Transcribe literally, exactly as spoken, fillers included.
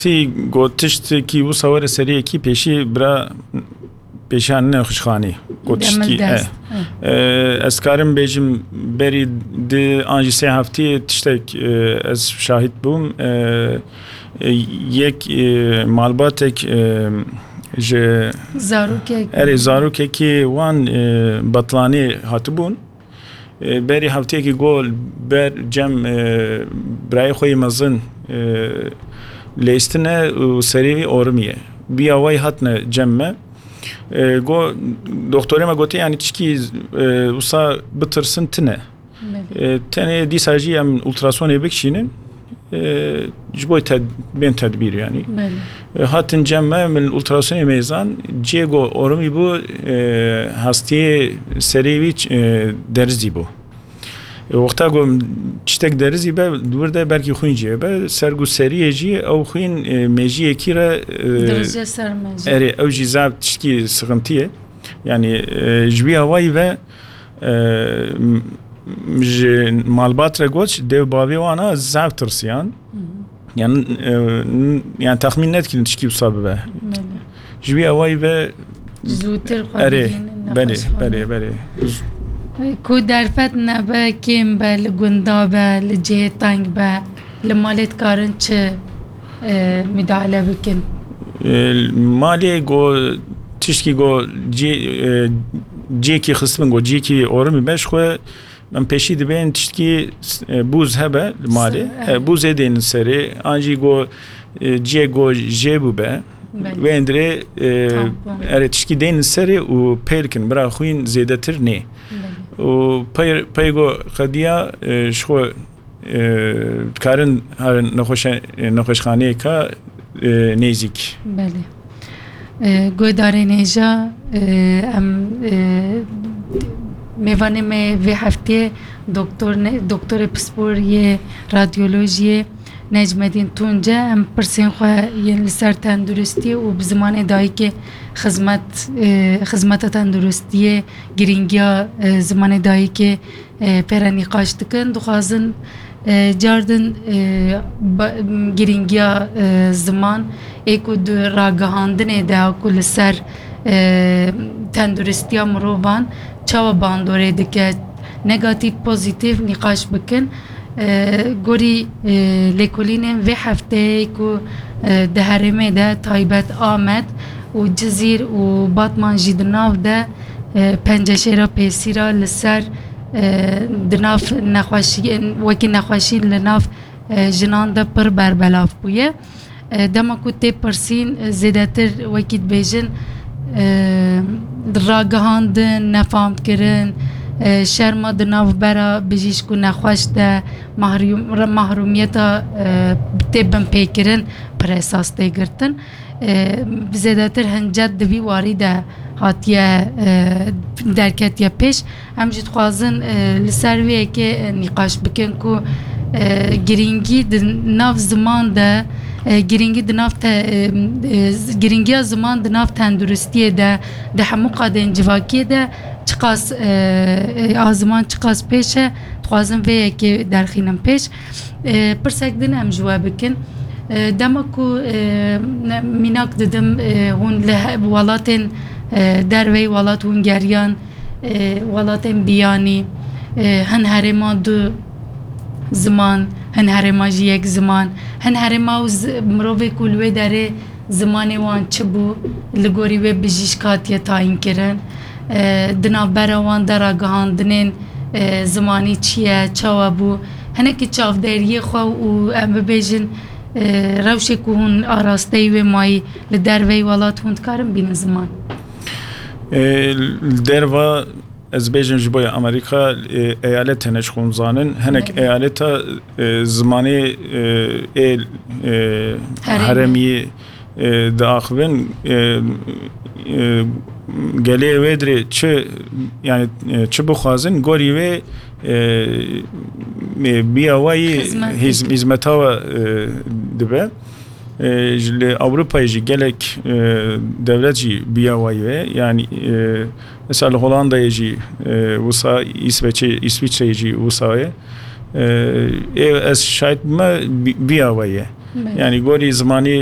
Tî got tiştekî wisa were seriyekî pêşî bira pêşiyan nexweşxanî. Got tiştekî, Demildest. e, e, ez karim bêjim berî di an jî sê heftiyê tiştek, e, ez şahid bûm. E, e, yek, e, malbatek, e, ji Zarokek. Erê, zarokekî wan, e, betlanê hatibûn. E, berî hefteyekî got ber cem, e, birayê xwe yê mezin, e, lêstine û serê wî orimiye. Biya wayî hatine cem me. E, got, doktorê me gotiye, yanî tişkî, e, wisa bitirsin tine. Belê. E, tenê dîsa jî em ultrasonê bikişînin. E, ji bo ted-, bên tedbîr yanî. Belê. E, hatin cem me, min ultrasonê mêzan, cê go ormî bû, e, hastiyê serê wî, e, derizî bû. E, wexta go tiştek derizî be, di wir de belkî xwîn jî be, ser go seriyê jî ew xwîn, e, mejiyekî re, e, Dirije ser mejî. Erê, ew jî zaf tişkî sıkıntı ye. Yani, e, ji wî awayî ve, e, m-, ji malbat re got, dev bavê wana zaf tirsiyan. Hı hı. Yani, e, n-, yani tahmin nedikirin tişkî wisa bibe. Belê. Ji wî awayî ve Zûtir xwe Erê, bigihînin belê, nexweşxane. Belê, belê. Ku derfet nebe, kêm be, li gunda be, li cihê teng be, li malê dikarin çi, e, müdahale bikin? E, malê go, tişkî go cê-, e, cêkî xistibin, go cêkî ormî be, ji xwe em pêşî dibên tişkî, e, bûz hebe li malê. Se-, E, evet. Bûzê dênin serê, an jî go, e, cê go jê bûbe. Belê. Wê endirê, e, Tampon. Erê, tişkî dênin serê û pêl kin, bira xwîn zêdetir nê. Belê. Û pey, pey go qediya, e, ji xwe, e, dikarin herin nexweşe-, e, nexweşxaneyeka, e, nêzîk. Belê. E, guhdarên hêja, e, em, e, mêvanê me vê heftê doktor ne-, doktorê pispor yê radyolojiyê Necmedîn Tunce, em pirsên xwe yên li ser tenduristiyê û bi zimanê dayikê xizmet, e, xizmeta tenduristiyê, girîngiya, e, zimanê dayikê, e, pê re nîqaş dikin. Dixwazin, e, cardin, e, ba-, girîngiya, e, ziman ê ku di ragihandinê de ku li ser, e, tenduristiya mirovan çawa bandorê dike, negatîf, pozîtîf nîqaş bikin. E, gorî, e, lêkolînên vê hefteyê ku, e, di herêmê de taybet Amed û Cizîr û Batman jî di nav de, e, penceşêra pêsîra li ser, e, di nav nexweşiyên, wekî nexweşî li nav, e, jinan de pir berbelav bûye. E, dema ku tê pirsîn, e, zêdetir wekî dibêjin, e, ragihandin, nefamkirin, e, şerma di nav bera bijîşk û nexweş de mahrûm-, mahrûmiyeta, e, tê binpêkirin pir esas tê girtin. E, zêdetir hincet di vî warî de hatiye, e, derketiye pêş. Em jî dixwazin, e, li ser vê yekê, e, nîqaş bikin ku, e, girîngî di nav ziman de, e, girîngî di nav te-, e, e, z-, girîngiya ziman di nav tenduristiyê de, di hemû qadên civakiyê de çiqas, e, e, a ziman çiqas pêş e, dixwazin vê yekê derxînin pêş. E, pirsek din em ji we bikin. E, dema ku, e, ne-, mînak didim, e, hûn li he-, welatên, e, derveyî welat hûn geriyan, e, welatên biyanî, e, hin herêma du ziman, hin herêma jî yek ziman, hin herêma û zi-, mirovê ku li wê derê zimanê wan çi bû, li gorî wê bijîşk hatiye tayînkirin, e, di navbera wan de ragihandinên, e, zimanî çi ye, çawa bû, hinekî çavderiyê xwe û em bibêjin, e, rewşê ku hûn arasteyî wê mayî li derveyî welat hûn dikarin bînin ziman. E, li derva, ez bêjim ji bo ya Amerîka, e, eyalet hene ji xwe hûn zanin. Hinek Evet. eyaleta, e, zimanê, e, ê, e, Herêmî. herêmî, e, diaxivin, e, e, gelê wê dirê çi, yani, e, çi bixwazin, gorî wê, e, e, biya wayî Xizmet hîz-, dike. hîzmeta we, e, dibe. E, ji li Ewropayê jî gelek, e, dewlet jî biya wayî wê. Yani, e, mesela li Holandayê jî, e, wisa, Îsveçê, Îsviçreyê jî wisa ye. E, ê ez şahid bime bi-, biya wayî ye. Belê. Yanî gorî zimanî